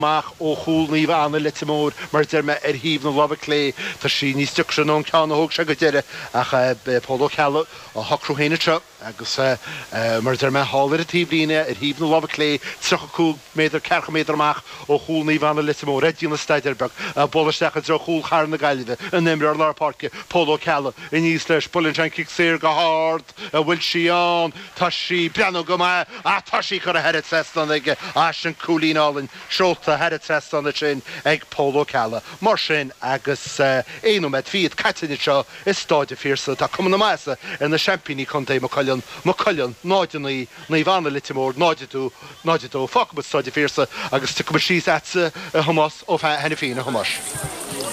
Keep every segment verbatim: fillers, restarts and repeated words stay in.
Amach ó chúl Naomh Anna Leitir Móir, mar a deir mé, ar thaobh na láimhe clé. Tá sí níos deacra ná an ceann a thóg sé go deireadh ach beidh Pól Ó Ceallaigh á shocrú féin anseo agus, mar a deir mé, thall ar an taobhlíne ar thaobh na láimhe clé, tríocha cúig méadar, ceathracha méadar amach ó chúl Naomh Anna Leitir Móir. Ag déanamh staidéir beag, ag bualadh isteach i dtreo chúl Chathair na Gaillimhe, an t-imreoir lár páirce, Pól Ó Ceallaigh, aníos leis, buaileann sé an cic saor go hard, an bhfuil sí ann? Tá sí, breathnú go maith, ach tá sí curtha thar an trasnán aige, ah sin cúilín álainn. Seolta thar an trasnán ansin ag Pól Ó Ceallaigh. Mar sin, agus aon nóiméad fichead caite anseo i Stáid an Phiarsaigh, tá cuma na maitheasa ar na seaimpíní contae, Maigh Cuilinn, Maigh Cuilinn, náid a naoi, Naomh Anna Leitir Móir, náid a dó, náid a dó. Fágfaidh muid Stáid an Phiarsaigh agus tiocfaidh muid síos agatsa, a Thomáis Ó hAiniféin, a Thomáis.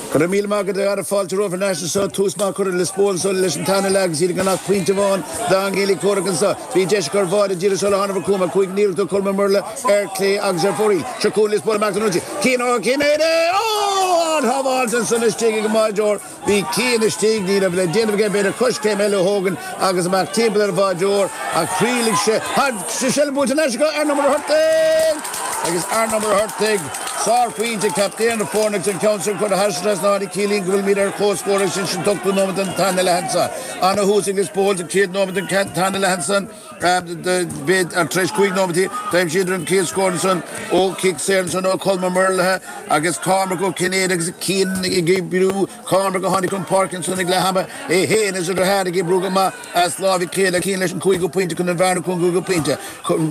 Go raibh míle maith agat a Dhara. Fáilte romhaibh thar n-ais anseo. Tús maith curtha ag Lios Póil anseo leis an tarna leath agus iad gan ach pointe amháin d'fhan comhrac anseo. Bhí deis acu ar bháide díreach sular tháinig Cuma cúig n-iarracht ó Colm Ó Murlaigh ar clé agus ar fóraoil. Seo chugainn Lios Póil amach don ionsaí. Cian Ó Cinnéide! Ó! Ard-shábháilt ansan istigh ag an mbáideoir. Bhí Cian istigh, ní raibh le déanamh aige b'fhéidir coiscéim eile a thógaint agus amach timpeall ar an bháideoir ach thriailigh sé. Tá seilbh buaite anois acu ar Ó Muircheartaigh! Agus ar Ó Muircheartaigh, sárphointe, captaen na foirne agus an ceann sin curtha thar an trasnán a chiallaíonn go bhfuilimid ar comhscór agus sin an t-ochtú nóiméad den tarna leath anso. Ana-thús ag Lios Póil sa chéad nóiméad den tarna leath ansan. B'fhéidir tar éis cúig nóiméad d'aimsíodar an chéad scór ansan ó chic saor ansan ó Cholm Ó Muirthile agus Cormac Ó Cinnéide agus Cian ag oibriú. Cormac a tháinig chun páirce ansan ag leath ama, é féin is a dheartháir ag oibriú go maith as láimh a chéile. Cian leis an cúigiú pointe chun an bhearna cúngú go pointe.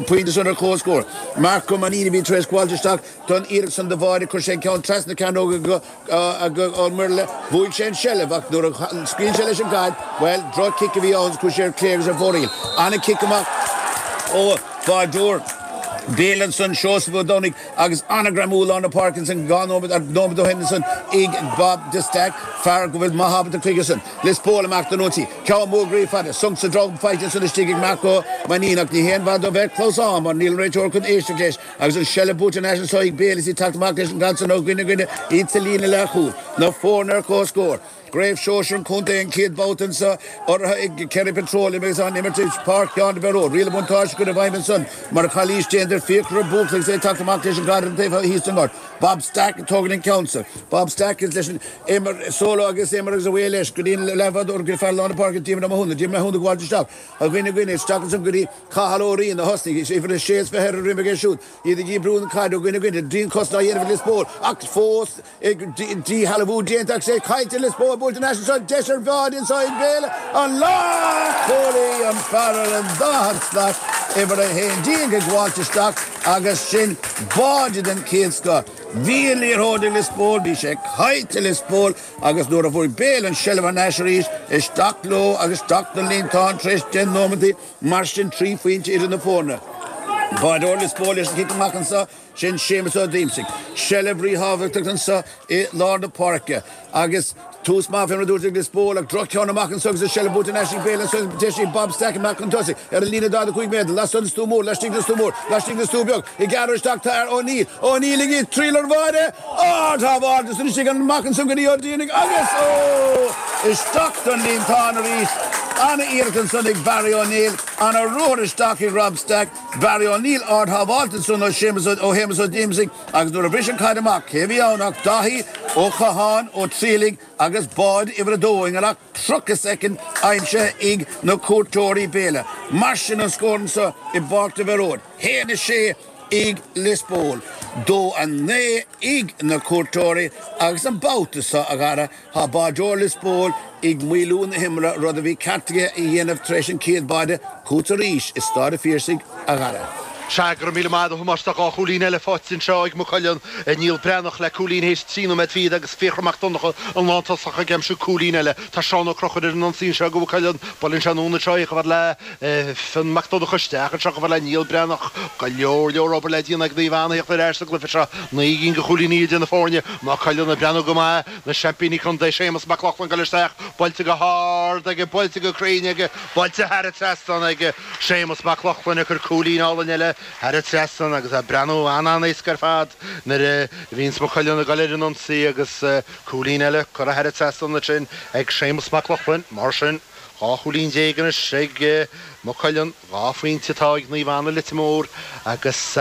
Pointe san ar comhscór. Marc Ó Mainnín a bhí tar éis gabháilt isteach don iarracht san do bháide. Chuir sé an ceann trasna na cearnóige go. Ó Muirthile, bhuaigh sé an tseilbh ach nuair a scaoil sé leis an gcaid, bhuel, droch-chic a bhí ann agus chuaigh sé ar clé agus ar fóraoil. An-chic amach ó bháideoir Béal ansan, Seosamh Ó Domhnaigh, agus an-ghreamú lár na páirce ansan dhá nóiméad, nóiméad ó shin ansan ag Bob de Stac, fear go bhfuil maith ábalta chuige san. Lios Póil amach don ionsaí. Ceann mór groí fada, sonc sa drom faighte ansan istigh ag Marc Ó Mainnín ach ní haon mhaith dó bheith clamhsán mar níl an réiteoir chun éisteacht leis. Agus an seilbh buaite thar n-ais anso ag Béal is iad teacht amach leis an gcaid san ó dhuine go duine, iad sa líne leathchúil. Na foirne ar comhscór. Craobh Shóisir an Chontae an chéad bhabhta anso, urraithe ag Kerry Petroleum agus á n-imirt i bPáirc Sheáin de Bhéaró. Riail an bhuntáiste curtha i bhfeidhm ansan mar a calaois déanta ar Fiachra Buachalla agus é ag teacht amach leis an gcaid ar an taobh thíos den ngort. Bob Stack ag tógaint an ceann san. Bob Stack is leis an imir solo agus imir agus away leis go dtí an leathbhádóir go fear lár na páirce Diarmuid Ó Mathúna. Diarmuid Ó Mathúna ag gabháilt isteach. Ó dhuine go duine isteach ansan go dtí Cathal Ó Riain a thosnaigh, uimhir a sé is fiche ar a dhroim aige siúd, iad ag oibriú an chaid ó dhuine go duine, dianchosaint á dhéanamh ag Lios Póil ach fós díshealbhú déanta agus é caillte ag Lios Póil, buailte thar n-ais anso, deis ar bháide anso ag Béal an lánchúlaí, an fear ar an daichead slat, uimhir a haon déag ag gabháilt isteach agus sin báide den chéad scoth. Bhí an liathróid ag Lios Póil, bhí sé caillte ag Lios Póil agus nuair a fuair Béal an seilbh thar n-ais arís, isteach leo agus isteach don líontán tar éis deich nóimeataí. Mar sin, trí phointe idir na foirne. Báideoir Lios Póil leis an chic amach anseo, sin Séamus Ó Díomasaigh. Seilbh ríthábhachtach anseo i lár na páirce agus tús maith fé mar a dúirt ag Lios Póil ach droch-cheann amach anseo agus an seilbh buaite thar n-ais ag Béal anseo deis ag Bob Stack amach chun tosaigh ar an líne daichead a cúig méadar lastoir den stua mór, laistigh den stua mór, laistigh den stua beag, ag gearradh isteach tá ar O'Neill, O'Neill ag triall ar bháide! Ard-shábháilt ansan istigh amach ansan go dtí Ó Diarnaigh agus, ó! isteach don líontán arís. Ana-iarracht ansan ag Barry O'Neill. Ana-ruathar isteach ag Rob Stack. Barry O'Neill ard-shábháilt ansan ó Séamus ó Shéamus Ó Díomasaigh agus nuair a bhris an chaid amach, cé a bhí ann ach Daithí Ó Catháin Ó Trialaigh agus báide uimhir a dó i ngan ach tríocha soicind aimsithe ag na cuairteoirí Béal. Mar sin an scór anso i bPáirc de Bhéaróid. haon a sé. ag Lios Póil, dó a naoi ag na cuairteoirí agus an babhta seo, a Dhara, tá báideoir Lios Póil ag maolú na himeartha, rud a bhí ceart aige a dhéanamh tar éis an chéad bháide, chugat arís i Stáid a' Phiarsaigh, a Dhara. Sea, go raibh míle maith agat, a Thomáis. Tá dhá chúilín eile faighte anseo ag Maigh Cuilinn, Niall Breathnach le cúilín théis trí nóiméad fichead agus Fiachra Mac Donncha, an lántosach, ag aimsiú cúilín eile. Tá Seán Ó Conchúir ar an ionsaí anseo do Mhaigh Cuilinn. Buaileann sé anonn anseo é chomh fada le. Fionn Mac Donncha isteach anseo chomh fada le Niall Breathnach. Go leor leor obair le déanamh ag Naomh Anna theacht ar ais sa gcluiche seo. Naoi gcinn de chúilíní idir na foirne. Maigh Cuilinn ag breathnú go maith. Na seaimpíní contae Séamus Mac Lochlainn ag dul isteach. Buailte go hard aige, buailte go cruinn aige, buailte thar an trasnán aige. Séamus Mac Lochlainn ag cur cúilín álainn eile thar an trasnán agus é ag breathnú an-an-éasca ar fad nuair a bhíonns Maigh Cuilinn ag dul ar an ionsaí agus cúilín eile curtha thar an trasnán ansin ag Séamus Mac Lochlainn. Mar sin. Dhá chúilín déag anois ag Maigh Cuilinn, dhá phointe atá ag Naomh Anna Leitir Móir agus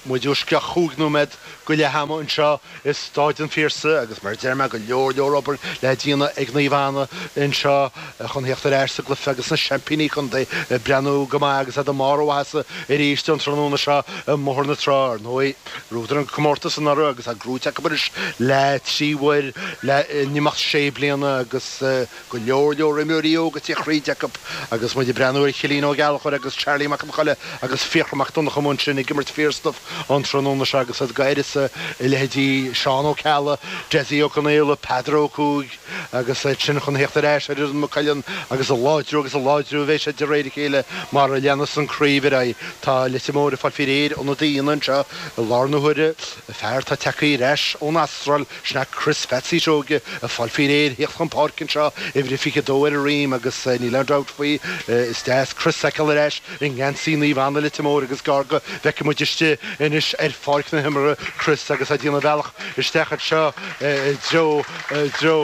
muid uaisceach chúig nóiméad go leath ama anseo i Stáid an Phiarsaigh agus mar a deir mé go leor leor obair le déanamh ag Naomh Anna anseo chun theacht ar ais sa gcluiche agus na seaimpíní contae ag breathnú go maith agus iad i mbarr a mhaitheasa arís an tráthnóna seo i mBóthar na Trá. Ar ndóigh, bhuadar an comórtas anuraidh agus é gnóite acu anois le trí huair le in imeacht sé bliana agus go leor leor imreoirí óga ag tíocht thríd acu agus muid ag breathnú ar Chillín Ó Gallchóir agus Charlie Mac Con Choille agus Fiachra Mac Donncha amuigh ansin ag imirt fíorstuif an tráthnóna seo agus iad d'uireasa leithéidí Seán Ó Ceallaigh, Dessie Ó Conaola, Peadar Ó Cuaig agus iad sin chun theacht ar ais ar fhoireann Mhaigh Cuilinn agus ag láidriú agus ag láidriú a bheidh siad de réir a chéile mar a leanas an chraobh ar aghaidh. Tá Leitir Móir ag fáil faoi réir ionadaí a dhéanamh anseo i lár na huaire, fear atá tagtha ar ais ón Astráil, sin é Chris Phatsy Seoige ag fáil faoi réir theacht chun páirce anseo, uimhir a fiche dó ar a dhroim agus níl aon dabht faoi, is deas Chris a fheiceáil ar ais i ngeansaí Naomh Anna Leitir Móir agus gar go bhfeicfidh muid istigh anois ar pháirc na himeartha Chris agus é ag déanamh a bhealach isteach anseo i dtreo i dtreo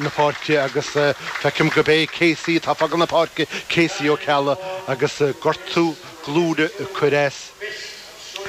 na páirce agus feicim gurb é Casey atá ag fágáil na páirce, Casey Ó Ceallaigh agus gortú glúine ag cur as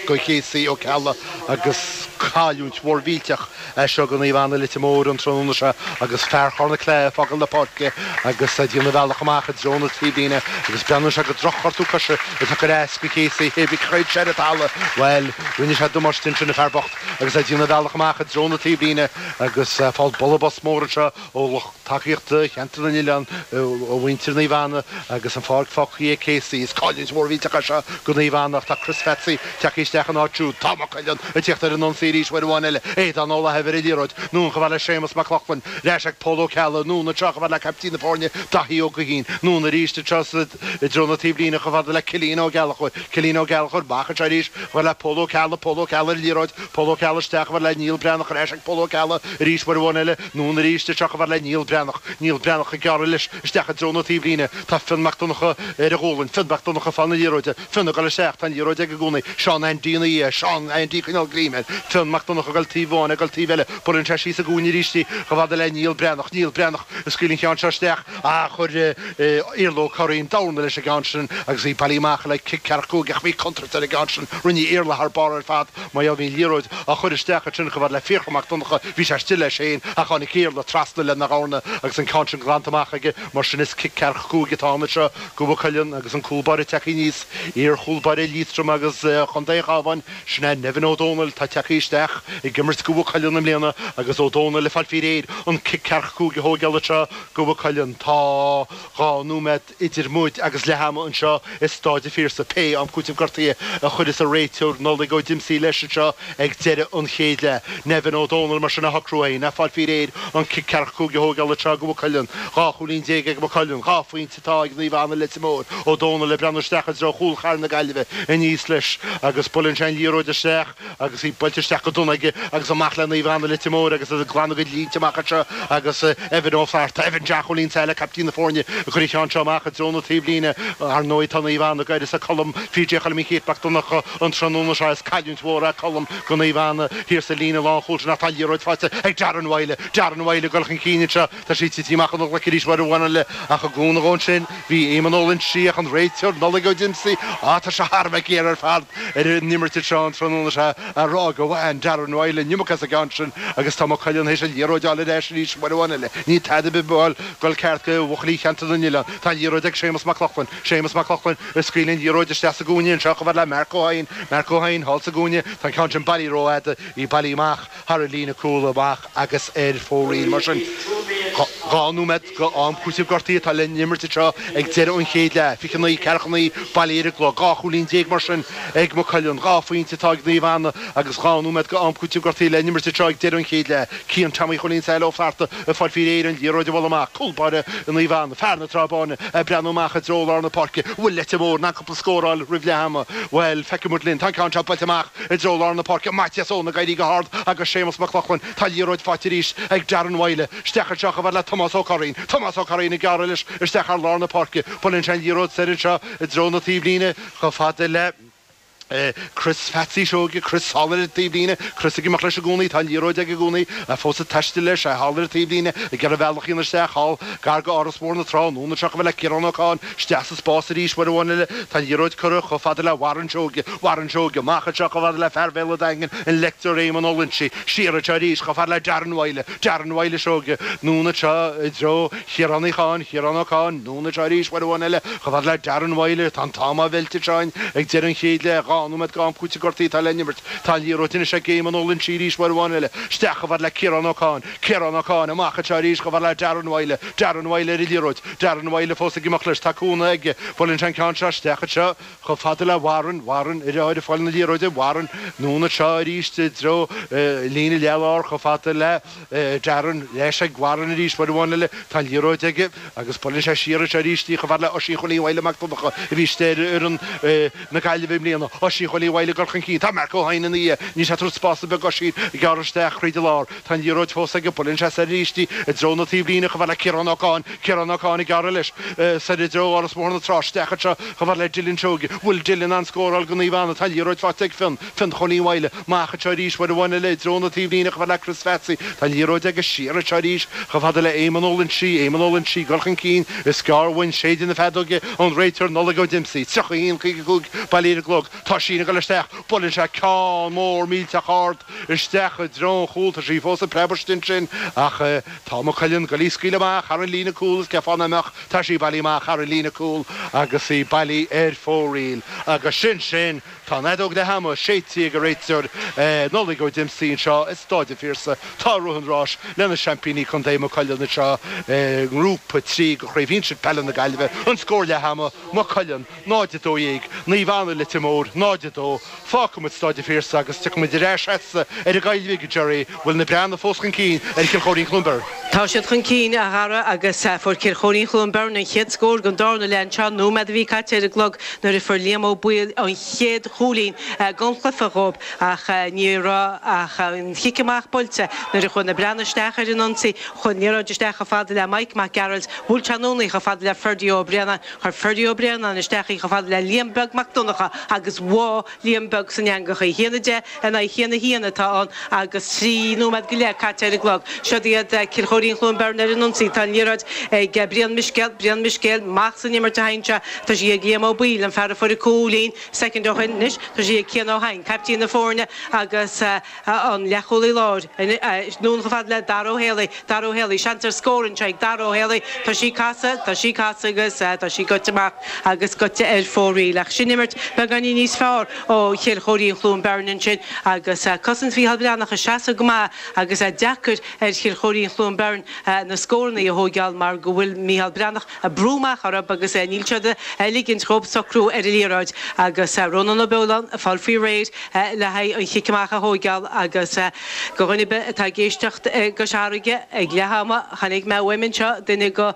do Casey Ó Ceallaigh agus cailliúint mhór mhillteach é seo do Naomh Anna Leitir Móir an tráthnóna seo agus fear Chorn na Claí ag fágáil na páirce agus ag déanamh a bhealach amach i dtreo na taobhlíne agus breathnaíonn sé gur drochghortú coise atá ag cur as do Casey hé bhí chreid sé ar an talamh bhuel rinne sé damáiste ansin an fear bocht agus é ag déanamh a bhealach amach i dtreo na taobhlíne agus ag fáil bualadh bos mór anseo ó lucht tacaíochta Cheantar na nOileán ó mhuintir Naomh Anna agus an pháirc fágtha ag Casey. Is cailliúint mhór mhillteach é seo do Naomh Anna ach tá Chris Phatsy tagtha isteach ina áit siúd. Tá Maigh Cuilinn ag tíocht ar an ionsaí arís uair amháin eile. Aodán Ó Laithimh ar an liathróid. Anonn chomh fada le Séamus Mac Lochlainn. Ar ais ag Pól Ó Ceallaigh. Anonn anseo chomh fada le caiptín na foirne, Daithí Ó Guithín. Anonn arís anseo i dtreo na taobhlíne chomh fada le Cillian Ó Gallchóir. Cillian Ó Gallchóir amach anseo arís chomh fada le Pól Ó Ceallaigh. Pól Ó Ceallaigh ar an liathróid. Pól Ó Ceallaigh isteach chomh fada le Niall Breathnach. Ar ais ag Pól Ó Ceallaigh arís uair amháin eile. Anonn arís anseo chomh fada le Niall Breathnach. Niall Breathnach ag gearradh leis isteach i dtreo na taobhlíne. Tá Fionn Mac Donncha ar a ghualainn. Fionn Mac Donncha ag fáil na liathróide. Fionn ag dul isteach. Tá an liathróid aige i gcónaí. Seán Aindí ina dhiaidh. Seán Aindí ag coinneáil greim air. Fionn Mac Donncha ag dul taobh amháin, ag dul taobh eile. Buaileann sé síos sa gcúinne arís í chomh fada le Niall Breathnach. Niall Breathnach ag scaoileadh an cheann seo isteach. Ach chuir Iarla Ó Curraoin dorn leis an gceann sin agus í bailithe amach le cic ceathracha cúig ach bhí contúirt ar an gceann sin. Rinne Iarla thar barr ar fad. Mar bhí an liathróid á chur isteach ansin chomh fada le Fiachra Mac Donncha. Bhí sé istigh leis féin ach tháinig Iarla trasna lena dhorna agus an ceann sin glanta amach aige. Mar sin is cic ceathracha cúig atá ann anseo do Mhaigh Cuilinn agus an cúl báire tagtha aníos, iar-chúl báire Liatroma agus Chontae an Chabháin, sin é Nevin Ó Dónaill atá tagtha isteach ag imirt do Mhaigh Cuilinn i mbliana agus Ó Dónaill ag fáil faoi réir an cic ceathracha cúig a thógáil anseo do Mhaigh Cuilinn. Tá dhá nóiméad idir muid agus leath ama anseo i Stáid an Phiarsaigh. Pé am cúitimh gortaithe a chuirfeas an réiteoir Nollaig Ó Diomsaigh leis anseo ag deireadh an chéad leath. Nevin Ó Dónaill mar sin á shocrú féin ag fáil faoi réir an cic ceathracha cúig a thógáil anseo do Mhaigh Cuilinn. Dhá chúilín déag ag Maigh Cuilinn, dhá phointe atá ag Naomh Anna Leitir Móir. Ó Dónaill ag breathnú isteach i dtreo chúl Chathair na Gaillimhe aníos leis agus buaileann sé an liathróid isteach agus í buailte isteach go dona aige agus amach le Naomh Anna Leitir Móir agus iad ag glanadh a gcuid línte amach anseo agus Evan Ó Flatharta, Evan Jack Chóilín Saile, caiptín na foirne, ag cur an cheann seo amach i dtreo na taobhlíne. Ar ndóigh tá Naomh Anna d'uireasa Colm PJ Choilm Uí Chéit Mac Donncha an tráthnóna seo. Is cailliúint mhór é Colm do Naomh Anna thiar sa líne lánchúil sin ach tá an liathróid faighte ag Darren Wylie. Darren Wylie ag dul chun cinn anseo. Tá sí tite amach óna ghlaic arís uair amháin eile ach i gcúnamh dhó ansin bhí Éamonn Ó Loinsigh ach an réiteoir Nollaig Ó Diomsaigh, á tá sé thar a bheith géar ar fad ar an imirt anseo an tráthnóna seo á rá go bhain Darren Wylie an iomarca as an gceann sin agus tá Maigh Cuilinn théis an liathróid a fháil ar ais arís uair amháin eile. Níl tada ar bith ag dul ceart do bhuachaillí Cheantar na nOileán. Tá an liathróid ag Séamus Mac Lochlainn. Séamus Mac Lochlainn ag scaoileadh an liathróid isteach sa gcúinne anseo chomh fada le Mark Ó hEidhin. Mark Ó hEidhin thall sa gcúinne. Tá an ceann sin bailithe rófhada. Í bailithe amach thar an líne cúil amach agus ar fóraoil. Mar sin, dhá nóiméad go am cúitimh gortaithe atá le n-imirt anseo ag deireadh an chéad leath. Fiche naoi, ceathracha naoi bailithe ar an gclog. Dhá chúilín déag mar sin ag Maigh Cuilinn. Dhá phointe atá ag Naomh Anna agus dhá nóiméad go am cúitimh gortaithe le n-imirt anseo ag deireadh an chéad leath. Cian Tommy Chóilín Saile Ó Flatharta ag fáil faoi réir an liathróid a bhualadh amach. Cúl báire Naomh Anna, fear na Trá Báine, ag breathnú amach i dtreo lár na páirce. Bhfuil Leitir Móir in ann cúpla scór a fháil roimh leath ama? Bhuel, feicfidh muid linn. Tá an ceann seo buailte amach i dtreo lár na páirce. Maitias Eoin ag éirí go hard agus Séamus Mac Lochlainn. Tá an liathróid faighte arís ag Darren Wylie. Isteach anseo chomh fada le Tomás Ó Curraoin. Tomás Ó Curraoin ag gearradh leis isteach thar lár na páirce. Buaileann sé an liathróid soir anseo i dtreo na taobhlíne chomh fada le. Chris Phatsy Seoige, Chris thall ar an taobhlíne, Chris ag imeacht leis i gcónaí, tá an liathróid aige i gcónaí, fós ag taisteal leis, é thall ar an taobhlíne, ag iarraidh a bhealach a dhéanamh isteach thall, gar go Áras Mór na Trá, anonn anseo chomh fada le Ciarán Ó Cadhain, isteach sa spás arís uair amháin eile, tá an liathróid curtha chomh fada le Warren Seoige, Warren Seoige, amach anseo chomh fada le fear Bhéal an Daingin, an Lector Éamonn Ó Loinsigh, siar anseo arís chomh fada le Darren Wylie, Darren Wylie Seoige, anonn anseo i dtreo Chiarán Uí Chadhain, Ciarán Ó Cadhain, anonn anseo arís uair amháin eile chomh fada le Darren Wylie, tá an t-am á mheilt anseo ag deireadh an chéad leath, dhá nóiméad go am cúitimh gortaithe atá le n-imirt. Tá an liathróid anois ag Éamonn Ó Loinsigh arís uair amháin eile. Isteach chomh fada le Ciarán Ó Cadhain. Ciarán Ó Cadhain amach anseo arís chomh fada le Darren Wylie. Darren Wylie ar an liathróid. Darren Wylie fós ag imeacht leis. Tá cúnamh aige. Buaileann sé an ceann seo isteach anseo chomh fada le Warren. Warren ar ag fáil na liathróide. Warren anonn anseo arís i dtreo líne leath-lár chomh fada le Darren. Leis ag Warren arís uair amháin eile. Tá an liathróid aige agus buaileann sé siar anseo arís í chomh fada le Oisín Chóilín Wylie Mac Donncha a bhí istigh ar fhoireann na Gaillimhe i mbliana. Oisín Chóilín Wylie ag dul chun cinn. Tá Mark Ó hEidhin ina dhiaidh. Níl sé ag tabhairt spás ar bith d'Oisín. Ag gearradh isteach thríd an lár. Tá an liathróid fós aige. Buaileann sé soir arís í i dtreo na taobhlíne chomh fada le Ciarán Ó Cadhain. Ciarán Ó Cadhain ag gearradh leis soir i dtreo Áras Mór na Trá. Isteach anseo chomh fada le Dylan Seoige. Bhfuil Dylan in ann scóráil do Naomh Anna? Tá an liathróid faighte ag Fionn. Fionn Chóilín Wylie. Amach anseo arís uair amháin eile i dtreo na taobhlíne chomh fada le Chris Phatsy. Tá an liathróid aige siar anseo arís chomh fada le Éamonn Ó Loinsigh. Éamonn Ó Loinsigh ag dul chun cinn. Is gearr uainn séideadh na feadóige ón réiteoir Nollaig Ó Diomsaigh. tríocha a haon caoga a cúig bailithe ar an gclog. Tá Oisín ag dul isteach. Buaileann sé ceann mór millteach ard isteach i dtreo an chúil. Tá sí fós ag preabadh istigh ansin ach tá Maigh Cuilinn ag dul í a scaoileadh amach thar an líne cúil is cén fáth nach mbeadh. Tá sí bailithe amach thar an líne cúil agus í bailithe ar fóraoil. Agus sin sin. Tá an fheadóg leath ama séidte ag an réiteoir Nollaig Ó Diomsaigh anseo i Stáid an Phiarsaigh. Tá Rith an Ráis lena seaimpíní contae Maigh Cuilinn anseo i nGrúpa trí de Chraobh Shinsir Peile na Gaillimhe. An scór leath ama, Maigh Cuilinn, náid a dó dhéag, Naomh Anna Leitir Móir, náid a dó. Fágfaidh muid Stáid an Phiarsaigh agus tiocfaidh muid ar ais agatsa ar an gCoill Bhig, a Gerry. Bhfuil na Breathnaigh fós chun cinn ar Chill Chóirín Chluain Bheirn? Tá siad chun cinn, a Dhara, agus fuair Cill Chóirín Chluain Bheirn an chéad scór den darna leath anseo, nóiméad a bhí caite ar an gclog nuair a fuair Liam Ó Baoill an chéad chúilín den chluiche dhóibh ach ní raibh ach an chic amach buailte nuair a chuaigh na Breathnaigh isteach ar an ionsaí. Chuaigh an liathróid isteach chomh fada le Mike Mac Gearailt, bhuail sé anonn í chomh fada le Ferdie Ó Braonáin, chuir Ferdie Ó Braonáin isteach í chomh fada le Liam Beag Mac Donncha agus bháigh Liam Beag san eangach í. A haon a deich in aghaidh a haon a haon atá ann agus trí nóiméad go leith caite ar an gclog. Siod iad Cill Chóirín Chluain Bheirn ar an ionsaí. Tá an liathróid ag Brian Miscéal, Brian Miscéal, amach san imirt a théann sé. Tá sí ag Liam Ó Baoill, an fear a fuair an cúilín soicind ó shin anois. Tá sí ag Cian Ó hEidhin, caiptín na foirne agus an leathchúlaí láir. Anonn chomh fada le Dara Ó Héalaí, Dara Ó Héalaí, seans ar scór anseo ag Dara Ó Héalaí. Tá sí casadh, tá sí casadh agus tá sí goite amach agus goite ar fóraoil. Ach sin imirt beagáinín níos fearr ó Chill Chóirín Chluain Bheirn ansin agus cosaint Mhícheál Breathnach ag seasamh go maith agus deacair ar Chill Chóirín Chluain Bheirn na scóranna a thógáil mar go bhfuil Mícheál Breathnach ag brú amach orthu agus níl siad ag ligint dhóibh socrú ar an liathróid agus Rónán Ó Beoláin ag fáil faoi réir le haghaidh an chic amach a thógáil agus do dhuine ar bith atá ag éisteacht i gCois Fharraige ag leath ama chonaic mé uaim anseo duine de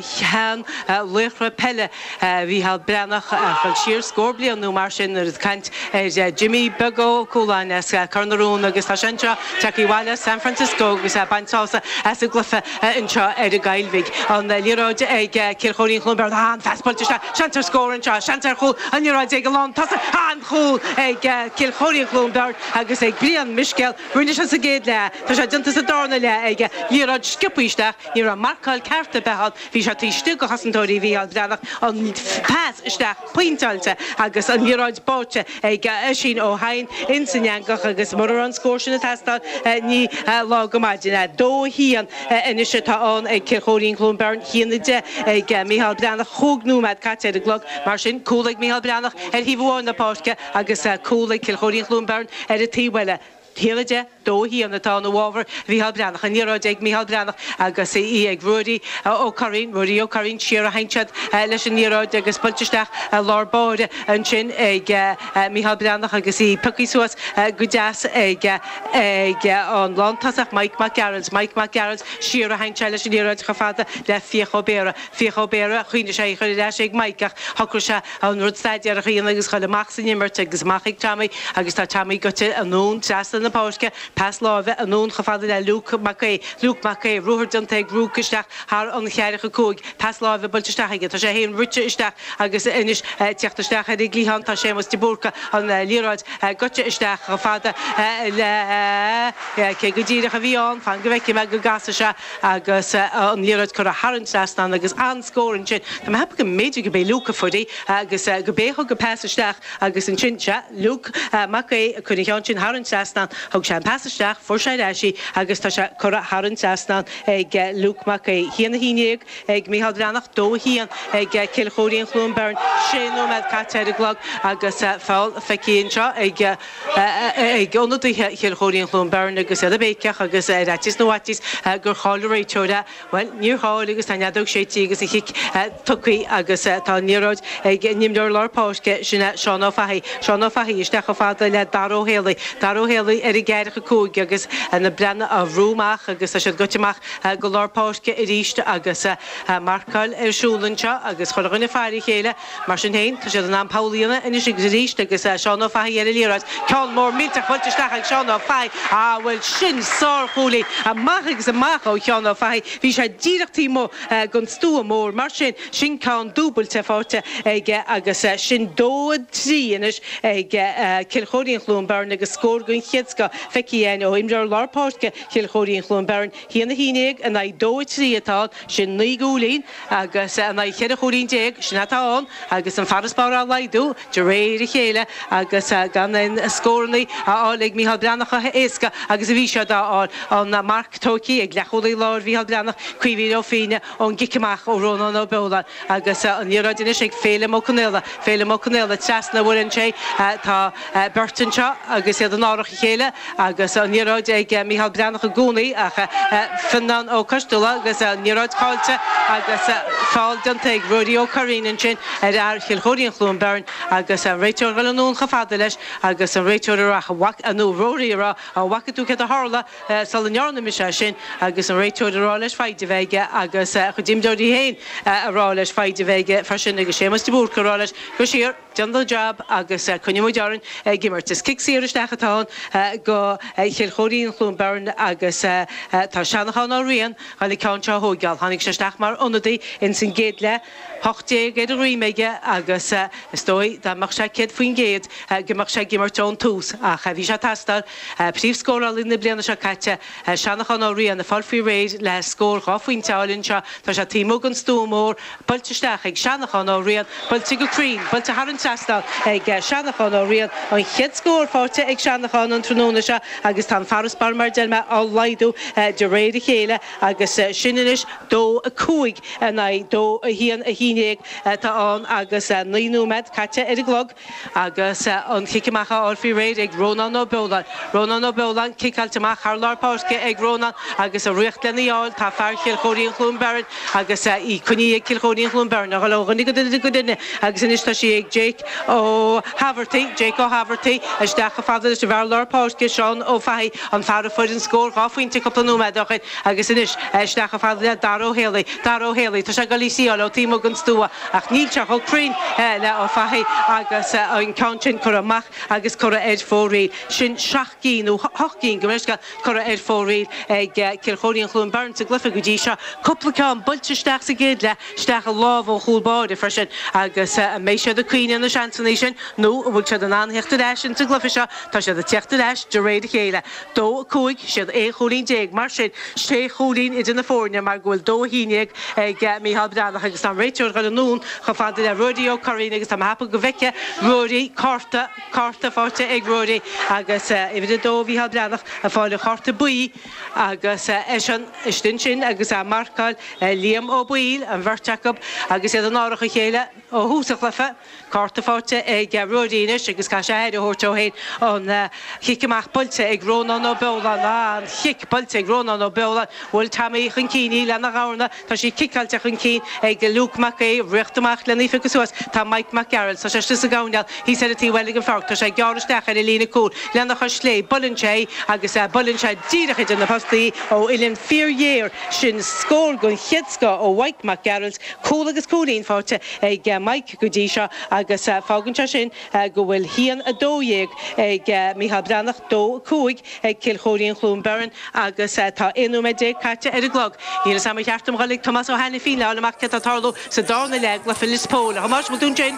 shean laochra peile Mhícheál Breathnach ag dul siar scór bliain nó mar sin nuair ag caint ar Jimmy Beag Ó Cualáin as Cor na Rón agus tá sé anseo tagtha abhaile as San Francisco agus ag baint sásamh as an gcluiche anseo ar an gCoill Bhig. An liathróid ag Cill Chóirín Chluain Bheirn, an phas buailte isteach, seans ar scór anseo, seans ar chúl, an liathróid ag an lántosach, an-chúl ag Cill Chóirín Chluain Bheirn agus ag Brian Miscéal. Rinne sé sa gcéad leath, tá sé déanta sa darna leath aige, liathróid sciobtha isteach, ní raibh marcáil ceart ar bith ann, bhí sé taobh istigh de chosantóirí Mhícheál Breathnach, an pas isteach pointeáilte agus an liathróid báite ag Oisín Ó hEidhin ins an eangach agus mura raibh an scór sin ag teastáil ní lá go maidin é. Dó a haon anois atá ann ag Cill Chóirín Chluain Bheirn, a haon a deich ag Mícheál Breathnach, chúig nóiméad caite ar an gclog, mar sin cúl ag Mícheál Breathnach ar thaobh amháin na páirce agus cúl ag Cill Chóirín Chluain Bheirn ar an taobh eile. a haon a deich, dó a haon atá ann i bhfabhar Mhícheál Breathnach. An liathróid ag Mícheál Breathnach agus í ag Ruairí Ó Curraoin. Ruairí Ó Curraoin siar a théann siad leis an liathróid agus buailte isteach i lár báire ansin ag Mícheál Breathnach agus í pioctha suas go deas ag ag an lántosach Mike Mac Gearailt. Mike Mac Gearailt siar a théann sé leis an liathróid chomh fada le Fiach Ó Béarra. Fiach Ó Béarra, choinnigh sé í chur ar ais ag Mike ach shocraigh sé an rud staidéarach a dhéanamh agus dhul amach san imirt agus amach ag Tommy agus tá Tommy goite anonn trasna na páirce, Pas láimhe anonn chomh fada le Luke Mac Aodha. Luke Mac Aodha, ruathar déanta ag Luke isteach thar an cheathracha cúig. Pas láimhe buailte isteach aige. Tá sé féin rite isteach agus anois teacht isteach ar an gcliathán tá Séamus de Búrca an liathróid goite isteach chomh fada le cé go díreach a bhí ann, fan go bhfeicfidh mé go gcasfaidh sé agus an liathróid curtha thar an trasnán agus an-scór ansin. Tá mé ag ceapadh go mb'fhéidir go b'é Luke a fuair í agus go b'é a thug an pas isteach agus ansin sea, Luke Mac Aodha a chuir an ceann sin thar an trasnán, thug sé an pas isteach, fuair sé ar ais í agus tá sé curtha thar an trasnán ag Luke Mac Aodha. Haon a haon déag ag Mícheál Breathnach, dó a haon ag Cill Chóirín Chluain Bheirn, sé nóiméad caite ar an gclog agus feall feicthe anseo ag ag ionadaithe Chill Chóirín Chluain Bheirn agus iad ag béiceach agus ar fhaitíos na bhfaitíos gur chaill an réiteoir é. Bhuel, níor chaill agus tá an fheadóg séidte agus an chic tugtha agus tá an liathróid ag an imreoir lár páirce, sin é Seán Ó Fathaigh. Seán Ó Fathaigh isteach chomh fada le Dara Ó Héalaí. Dara Ó Héalaí ar an gceathracha cúig agus na Breathnaigh á bhrú amach agus tá siad goite amach go lár páirce arís agus marcáil ar siúl anseo agus chuile dhuine ag faire a chéile. Mar sin féin, tá siad in ann poll a dhéanamh anois agus arís agus Seán Ó Fathaigh ar an liathróid. Ceann mór millteach buailte isteach ag Seán Ó Fathaigh. Ah, bhuel sin sárchúilín amach agus amach ó Sheán Ó Fathaigh. Bhí sé díreach taobh amuigh den stua mór. Mar sin, sin ceann dúbailte faighte aige agus sin dó a trí anois ag Cill Chóirín Chluain Bheirn agus scór den chéad scoth feicthe againn ó imreoir lár páirce Chill Chóirín Chluain Bheirn. Haon a haon déag in aghaidh dó a trí atá ann, sin naoi gcúilín agus in aghaidh cheithre chúilín déag, sin atá ann agus an farasbarr á laghdú de réir a chéile agus gan aon scóranna á fháil ag Mícheál Breathnach chomh héasca agus a bhí siad á fháil. An marc tógtha ag leathchúlaí láir Mhícheál Breathnach, Caoimhín Ó Fiaine ón gcic amach ó Rónán Ó Beoláin agus an liathróid anois ag Féilim Ó Conaola. Féilim Ó Conaola trasna a bhuaileann sé. Tá beirt anseo agus iad in árach a chéile agus an liathróid ag Mícheál Breathnach i gcónaí ach Fionnán Ó Coisteala agus an liathróid caillte agus feall déanta ag Ruairí Ó Curraoin ansin ar fhear Chill Chóirín Chluain Bheirn agus an réiteoir ag dul anonn chomh fada leis agus an réiteoir ag rá nó Ruairí ag rá an bhfaca tú céard a tharla sula ndearna mise é sin agus an réiteoir ag rá leis foighid a bheith aige agus a chuid imreoirí féin ag rá leis foighid a bheith aige freisin agus Séamus de Búrca ag rá leis gabh siar, déan do jab agus coinneoidh muid orainn ag imirt. Is cic saor isteach atá ann go Chill Chóirín Chluain Bheirn agus tá Seanachán Ó Riain ag dul an ceann seo a thóigeáil. Tháinig sé isteach mar ionadaí ins an gcéad leath, hocht déag ar a dhroim aige agus is dóigh dá mbeadh sé céad faoin gcéad go mbeadh sé ag imirt ón tús ach bhí sé ag teastáil. Príomhscórálaí na bliana seo caite, Seanachán Ó Riain, ag fáil faoi réir le scór dhá phointe a fháil anseo. Tá sé taobh amuigh den stua mór, buailte isteach ag Seanachán Ó Riain, buailte go cruinn, buailte thar an trasnán ag Seanachán Ó Riain. An chéad scór faighte ag Seanachán an tráthnóna seo agus tá an farasbarr mar a deir mé á laghdú de réir a chéile agus sin anois dó a cúig in aghaidh dó a haon a haon déag atá ann agus naoi nóiméad caite ar an gclog agus an cic amach á fháil faoi réir ag Rónán Ó Beoláin. Rónán Ó Beoláin, ciceáilte amach thar lár páirce ag Rónán agus ag rith lena fháil tá fear Chill Chóirín Chluain Bheirn agus í coinnithe ag Cill Chóirín Chluain Bheirn a dhul ó dhuine go duine go duine agus anois tá sí ag Jake Ó hAbhartaigh, Jake Ó hAbhartaigh isteach chomh fada leis an bhfear lár páirce Seán Ó Fathaigh, an fear a fuair an scór dhá phointe cúpla nóiméad ó shin agus anois isteach chomh fada le Dara Ó Héalaí, Dara Ó Héalaí, tá sé ag dul í a thriáil ó taobh amuigh den stua ach níl sé chomh cruinn le Ó Fathaigh agus an ceann sin curtha amach agus curtha ar fóraoil. Sin seacht gcinn nó hocht gcinn gabh mo leithscéal curtha ar fóraoil ag Cill Chóirín Chluain Bheirn sa gcluiche go dtí seo. Cúpla ceann buailte isteach sa gcéad leath, isteach i lámh an chúl báire freisin agus an mbeidh siad ag cuimhneamh ar na seansanna sin nó an bhfuil siad in ann theacht ar ais insa gcluiche seo? Tá siad ag teacht ar ais de réir a chéile. Dó a cúig, siad aon chúilín déag, mar sin sé chúilín idir na foirne mar go bhfuil dó a haon déag ag Mícheál Breathnach agus tá an réiteoir ag dul anonn chomh fada le Ruairí Ó Curraoin agus tá mé ag ceapadh go bhfeicfidh Ruairí cárta, cárta faighte ag Ruairí agus uimhir a dó Mhícheál Breathnach ag fáil an chárta buí agus eisean istigh ansin agus á marcáil Liam Ó Baoill, an bheirt acu agus iad in árach a chéile ó thús an chluiche. Cárta faighte ag Ruairí anois agus caithfidh sé aire a thabhairt dó féin. An chic amach buailte ag Rónán Ó Beoláin. An chic buailte ag Rónán Ó Beoláin. Bhuail Tommy chun cinn í lena dhorna. Tá sí ciceáilte chun cinn ag Luke Mac Aodha. Rith amach lena phiocadh suas tá Mike Mac Gearailt. Tá sé istigh sa gcoirnéal thíos ar an taobh eile den pháirc. Tá sé ag gearradh isteach ar an líne cúil lena chois chlé. Buaileann sé í agus buaileann sé díreach idir na postaí ó uillinn fíorghéar. Sin scór den chéad scoth ó Mike Mac Gearailt. Cúl agus cúilín faighte ag Mike go dtí seo agus agus fágann sé sin go bhfuil haon a dó dhéag ag Micheál Breathnach dó cúig ag Cill Chóirín Chluain Bheirn agus tá aon nóiméad déag caite ar an gclog. Níl sam cheartam golig Tomás Ó Hainifín le amach cad tá ag tarlú sa darna leath i gcluiche Lios Póil. Thomáis bhfuil tú ansin?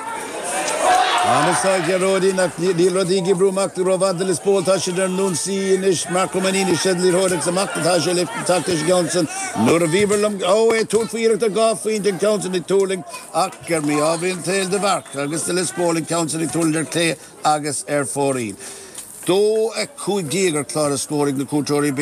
Ana Ghearóidín níl rudaí ag oibriú amach rómhaith do Lios Póil tá siad ar an ionsaí anois Marco Manini sé liathróid agus amach atá sé le teacht leis Johnson nuair a bhíbar liom ó é túr faoireach a gá faoin an Johnson ag tuirlingt ach gur mí ábhíonn tail de bharc agus de Lios Póil an Johnson ag tuirlingt ar clé agus ar fóraoil. Dó a cúig déag ar chlár a scór ag na cuairteoirí